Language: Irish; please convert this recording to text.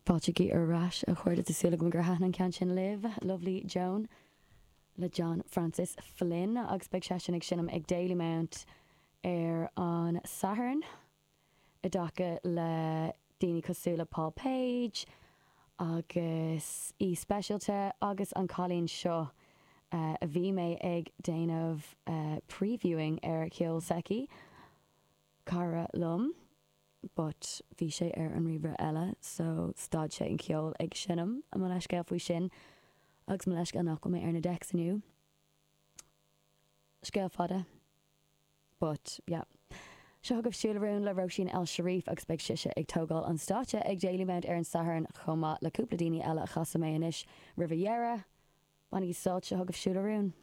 Fáiltigí ar ais, a chairde. Tá súil agam gur thaitin an ceann sin libh. Lovely Joan le John Francis Flynn agus beidh seisean ag seinm ag Dalymount ar an Satharn i dtaca le daoine cosúil le Paul Page agus aoi speisialta agus an cailín seo a bhí mé ag déanamh previewing ar cheol s'aici, cara liom. but bhí sé ar an ríomhaire eile so stad sé an ceol ag seinm, mo leithscéal faoi sin agus mo leithscéal nach bhfuil mé ar na decks inniu. Scéal fada. But yeah. Seo chugaibh Siúil a Rún le Róisín El Cherif agus beidh sise ag tógáil an stáitse ag Dalymount ar an Satharn chomh maith le cúpla daoine eile a chasfaidh mé anois roimh a dheireadh. Bainigí sult, seo chugaibh Siúil a Rún.